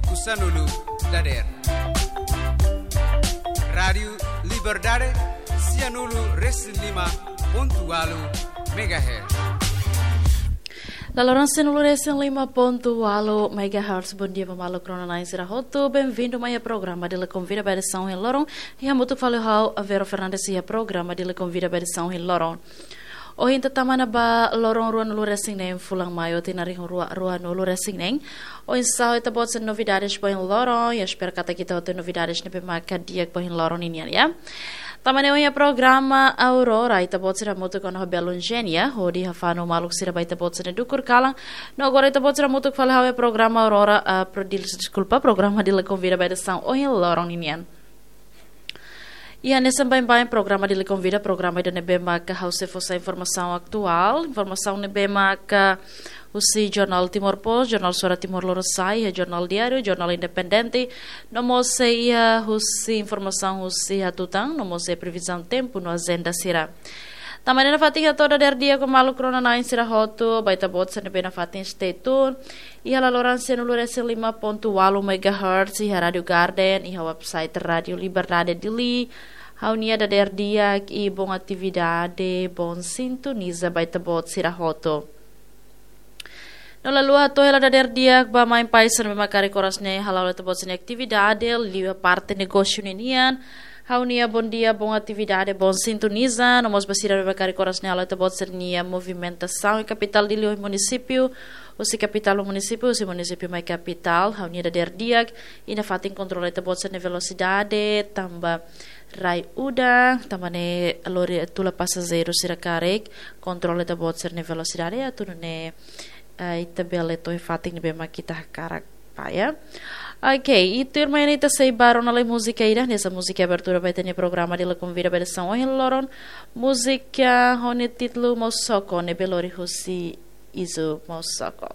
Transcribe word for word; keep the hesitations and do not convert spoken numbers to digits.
ku sanulu dadeer. Rádiu Liberdade, sianulu resin lima pontu ualu megahertz. Dala loron sianulu resin lima pontu ualu megahertz. Bondia ba maluk rona-na'in sira hotu. Benvindu mai iha programa Dili Konvida ba edisaun ohin loron. Iha hamutuk fali ho ha'u Vero Fernandes iha programa Dili Konvida ba edisaun ohin loron. Ohin ita tama ona ba loron ruanulu resin neen fulan Maiu tinan rihun rua ruanulu resin neen. Oinsá ho ita-boot sira-nia novidades ba ohin loron, i espera katak ita hotu novidades ne'ebé maka di'ak ba ohin loron ninian, ya. Tanba ne'e ohin iha programa Aurora, ita-boot sira hamutuk ona ho Belo Eugenia, hodi hafanu maluk sira ba ita-boot sira-nia dukur kalan. No agora ita-boot sira hamutuk fali ho programa Aurora, ah, pro-, dil-, deskulpa, programa Dili Konvida ba edisaun ohin loron ninian. Iha hanesan baibain programa Dili Konvida, programa ida ne'ebé maka ha'u sei fó sai informasaun atuál, informasaun ne'ebé maka husi Jornál Timor Post, Jornál Suara Timor Lorosa'e, iha Jornál Diáriu, Jornál Independente, no mós sei iha husi informasaun husi hatutan, no mós sei previzaun tempu no ajenda sira. Tanba ne'e nafatin hato'o dadeer di'ak ba maluk rona-na'in sira hotu, ba ita-boot sira ne'ebé nafatin stay tune iha laloran sianulu resin lima pontu ualu megahertz, iha Rádiu Garden, iha website Rádiu Liberdade Dili. Ha'u-nia dadeer di'ak i bom atividade, bom sintoniza ba ita-boot sira hotu. No la haluha hato'o hela dadeer di'ak ba maun-alin sira ne'ebé maka karik oras ne'e hala'o ita-boot sira-nia atividade, liuliu parte negósiu ninian. Ha'u-nia bondia, bom atividade, bom sintoniza, no mós ba sira ne'ebé maka karik oras ne'e hala'o ita-boot sira-nia movimentasaun iha kapitál Dili, munisípiu, husi kapitál ba munisípiu, husi munisípiu mai kapitál, ha'u-nia dadeer di'ak, i nafatin kontrola ita-boot sira-nia velosidade, tanba rai udan, tanba ne'e lori tula pasajeiru sira karik kontrola ita-boot sira-nia velosidade, atu nune'e, eh, ita bele to'o iha fatin ne'ebé maka ita hakarak bá, ya. Ok, i tuirmai ne'e ita sei bá rona lai múzika ida, hanesan múzika abertura ba ita-nia programa Dili Konvida ba edisaun ohin loron, múzika ho nia títulu Mousoko, ne'ebé lori husi Izu Mousoko.